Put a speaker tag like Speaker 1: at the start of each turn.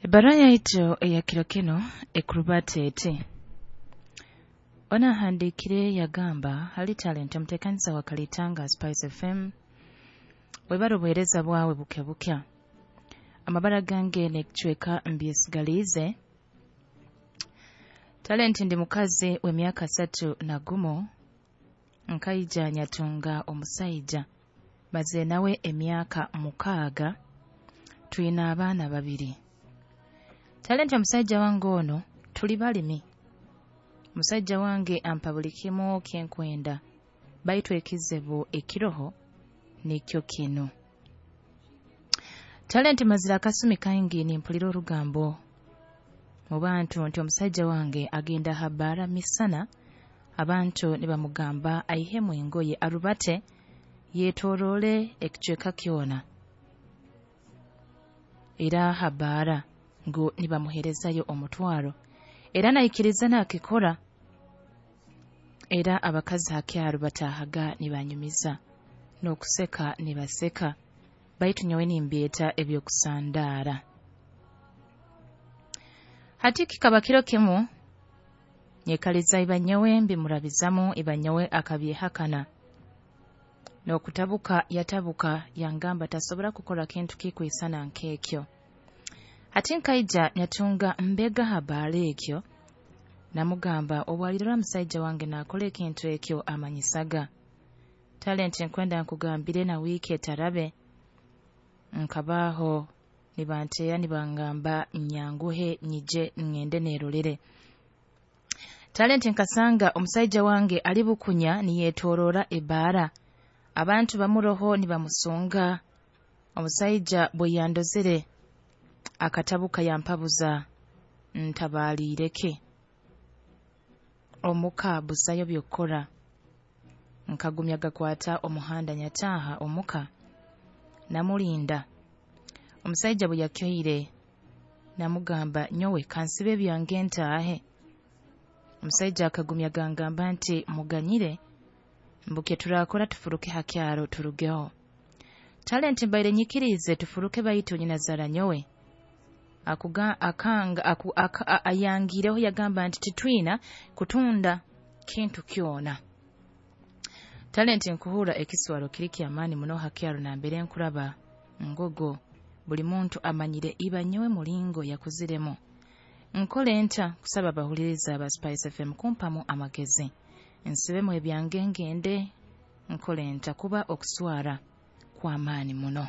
Speaker 1: Ebbaruha yaitu eya kiro kinu ekurubata eti: Ono ahandiikire yagamba, "Hali Talent, omuteekaniza wa Kalitanga Spice FM, webale obuheereza bwawe buke bukya. Amabara gange n'ekicweka mbyesigaliize. Talent, ndi mukazi w'emyaka 31, nkaija nyatunga omusaija, mazire nawe emyaka 6, twine abaana 2. Talent, omusaija wange ono tuli balimi. Omusaija wange ampa buli kimu kyenkwenda, baitu ekizibu ekiroho nikyo kinu. Talent, mazire akasumi kaingi nimpulira orugambo mu bantu nti omusaija wange agenda ha bbaara misana, abantu nibamugamba aihemu engoye arubate yeetoroole ekicweka kyona era ha bbaara ngu nibamuheerezayo omutwaro, era naikiriza naakikora. Era abakazi ha kyaro bataahaga nibanyumiza n'okuseka nibaseka, baitu nyowe nimbyeta eby'okusandaara. Hati kikaba kiro kimu nyekaliza iba nyowe mbimurabizamu, iba nyowe akabyehakana n'okutabuka yatabuka, yangamba tasobora kukora kintu kikwisana nk'ekyo. Hati nkaija nyatunga mbega ha bbaara ekyo, namugamba obu alirora musaija wange naakora ekintu ekyo amanyisaga. Talent, nkwenda nkugambire na wiiki etarabe nkabaaho nibanteera nibangamba nyanguhe nyije ngende neerolere. Talent, nkasanga omusaija wange ali bukunya niyeetooroora ebbaara, abantu bamuroho nibamusunga. Omusaija bwe yandozere akatabuka yampabuza ntabaaliire ki, omuka busayo by'okukora. Nkagumya gakwata omuhanda nyataaha omuka namulinda. Omusaija bwe yakyoire namugamba, nyowe kansibe ebyange ntaahe. Omusaija akagumya gangamba nti muganyire, mbu kyeturakora tufuruke ha kyaro turugeho. Talent, mbaire nyikiriize tufuruke, baitu nyinazaara nyowe akuga akanga aku, aka, ayangireho yagamba nti titwina kutunda kintu kyona. Talent, nkuhurra ekiswaro kiri ky'amaani muno ha kyaro nambere nkuraba ngogo, buli muntu amanyire iba nyowe mulingo yakuziremu. Nkole nta? Kusaba abahuliriza aba Spice FM kumpamu amagezi. Nsibemu ebyange ngende, nkole nta kuba okuswara kw'amaani muno?"